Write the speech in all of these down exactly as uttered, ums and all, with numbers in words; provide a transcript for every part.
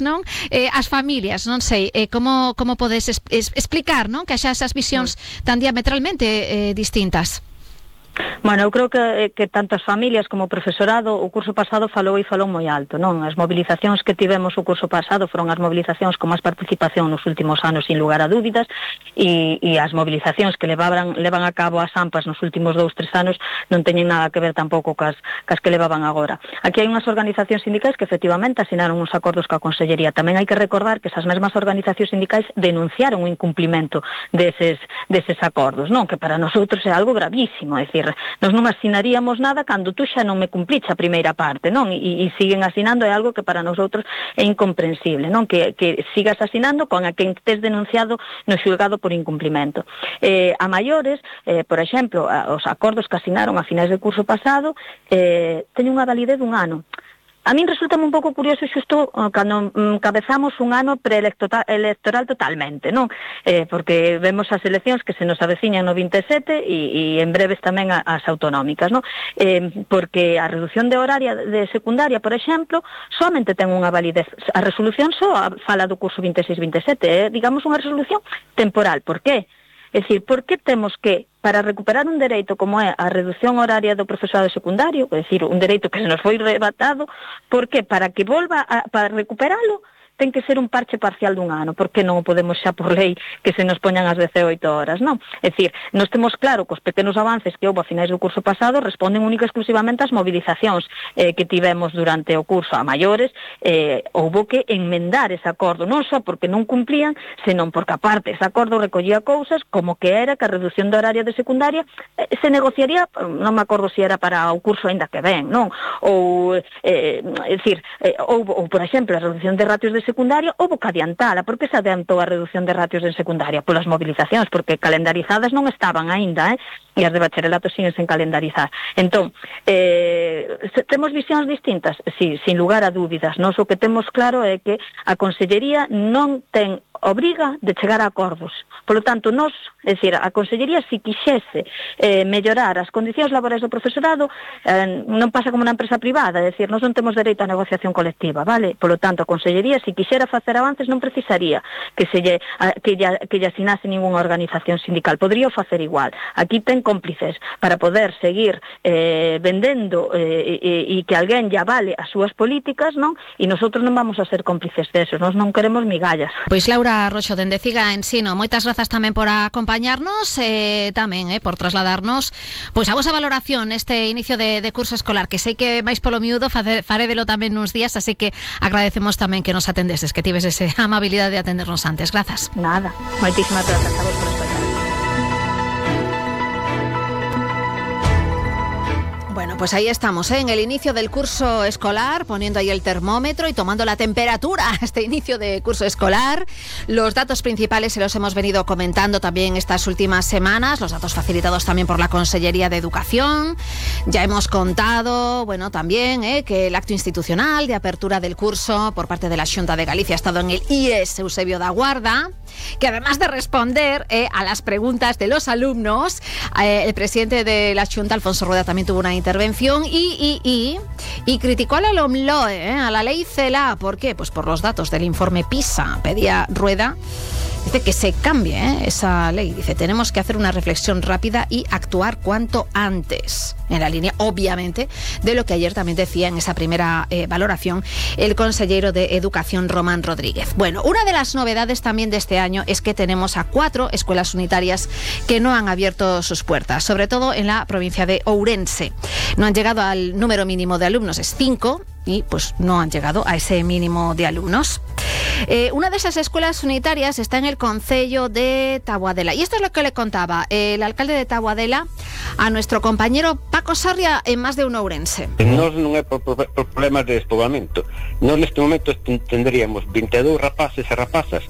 non? Eh, as familias, non sei, eh, como, como podes es, es, explicar, non? Que xa esas visións tan diametralmente eh, distintas. Bueno, eu creo que, que tanto as familias como o profesorado o curso pasado falou e falou moi alto, non? As mobilizacións que tivemos o curso pasado foron as mobilizacións con máis participación nos últimos anos, sin lugar a dúbidas, e, e as mobilizacións que levaban, levan a cabo as AMPAs nos últimos dous, tres anos non teñen nada que ver tampouco cas, cas que levaban agora. Aquí hai unhas organizacións sindicais que efectivamente asinaron uns acordos coa Consellería. Tamén hai que recordar que esas mesmas organizacións sindicais denunciaron o incumplimento deses, deses acordos, non? Que para nosotros é algo gravísimo, é dicir, nós non asinaríamos nada cando tú xa non me cumpriche a primeira parte, non? E, e siguen asinando, é algo que para nosotros é incomprensible, non? Que, que sigas asinando con a quen tes denunciado no xulgado por incumplimento. Eh, a maiores, eh, por exemplo, a, os acordos que asinaron a finais do curso pasado eh, teñen unha validez dun ano. A min resulta un pouco curioso xusto cando mm, cabezamos un ano preelectoral totalmente, non? Eh, porque vemos as eleccións que se nos aveciñan no vinte e sete e, e en breves tamén as autonómicas, non? Eh, porque a reducción de horaria de secundaria, por exemplo, somente ten unha validez. A resolución só fala do curso vinte e seis vinte e sete, é, eh, digamos, unha resolución temporal. Por qué? É dicir, por que temos que, para recuperar un dereito como é a reducción horaria do profesorado secundario, é dicir, un dereito que se nos foi rebatado, por que, para que volva a, para recuperalo, ten que ser un parche parcial dun ano, porque non o podemos xa por lei que se nos poñan as dezenoito horas, non? É dicir, nós temos claro que os pequenos avances que houve a finais do curso pasado responden única e exclusivamente ás mobilizacións eh, que tivemos durante o curso. A maiores, eh, houve que enmendar ese acordo, non só porque non cumplían, senón porque aparte ese acordo recollía cousas como que era que a reducción de horaria de secundaria eh, se negociaría, non me acordo se era para o curso ainda que ven, non? Ou, eh, é dicir, eh, ou, ou, por exemplo, a reducción de ratios de secundaria houve que adiantala. Por que se adiantou a reducción de ratios en secundaria? Polas mobilizacións, porque calendarizadas non estaban aínda, eh? E as de bacharelato siguen sen calendarizar. Entón, eh, temos visións distintas? Sí, sin lugar a dúbidas. Nós o que temos claro é que a Consellería non ten obriga de chegar a acordos. Por lo tanto, nós, é dicir, a Consellería, se quixese eh, mellorar as condicións laborais do profesorado, eh, non pasa como na empresa privada, é dicir, nós non temos dereito a negociación colectiva, vale? Por lo tanto, a Consellería, se quixera facer avances, non precisaría que se lle, a, que, lle, que lle asinase ninguna organización sindical, podría facer igual. Aquí ten cómplices para poder seguir eh, vendendo eh, e, e que alguén lle avale as súas políticas, non? E nosotros non vamos a ser cómplices desos, nós non queremos migallas. Pois Laura Roxo, dende Ciga Ensino, moitas grazas tamén por acompañarnos, eh, tamén eh, por trasladarnos pois a vosa valoración neste inicio de, de curso escolar, que sei que máis polo miúdo farédelo tamén nuns días, así que agradecemos tamén que nos atendeses, que tives esa amabilidade de atendernos antes. Grazas. Nada, moitísimas grazas a vos por estar. Bueno, pues ahí estamos, ¿eh? En el inicio del curso escolar, poniendo ahí el termómetro y tomando la temperatura a este inicio de curso escolar. Los datos principales se los hemos venido comentando también estas últimas semanas, los datos facilitados también por la Consellería de Educación. Ya hemos contado, bueno, también ¿eh? que el acto institucional de apertura del curso por parte de la Xunta de Galicia ha estado en el I E S Eusebio da Guarda, que además de responder eh, a las preguntas de los alumnos, eh, el presidente de la Xunta, Alfonso Rueda, también tuvo una intervención y, y, y, y criticó a la LOMLOE, ¿eh? a la ley CELA. ¿Por qué? Pues por los datos del informe PISA. Pedía Rueda, dice que se cambie ¿eh? esa ley. Dice, tenemos que hacer una reflexión rápida y actuar cuanto antes. En la línea, obviamente, de lo que ayer también decía en esa primera eh, valoración el consejero de Educación, Román Rodríguez. Bueno, una de las novedades también de este año es que tenemos a cuatro escuelas unitarias que no han abierto sus puertas, sobre todo en la provincia de Ourense. No han llegado al número mínimo de alumnos, es cinco, y pues no han llegado a ese mínimo de alumnos. Eh, una de esas escuelas unitarias está en el concello de Taboadela. Y esto es lo que le contaba el alcalde de Taboadela a nuestro compañero Paco Sarria en Más de un Ourense. Nos non é por, por, por problemas de despoblamiento. Nos neste momento tendríamos veintidós rapaces e rapazas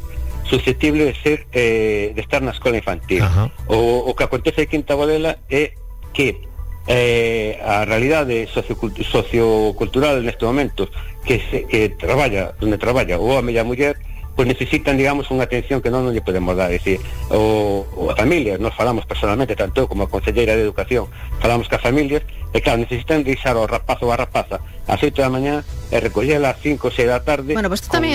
susceptibles de ser eh, de estar na escola infantil. Uh-huh. O, o que acontece aquí en Taboadela é que eh, a realidade sociocultu- sociocultural neste momento que, se, que traballa, onde traballa o home e a muller pues necesitan, digamos, unha atención que non non lle podemos dar. É dicir, o, o a familias, nos falamos personalmente, tanto como a conselleira de Educación, falamos ca familias, e claro, necesitan deixar ao rapaz ou a rapaza ás oito da mañá e recollela ás cinco ou seis da tarde. Bueno, pues tú tamén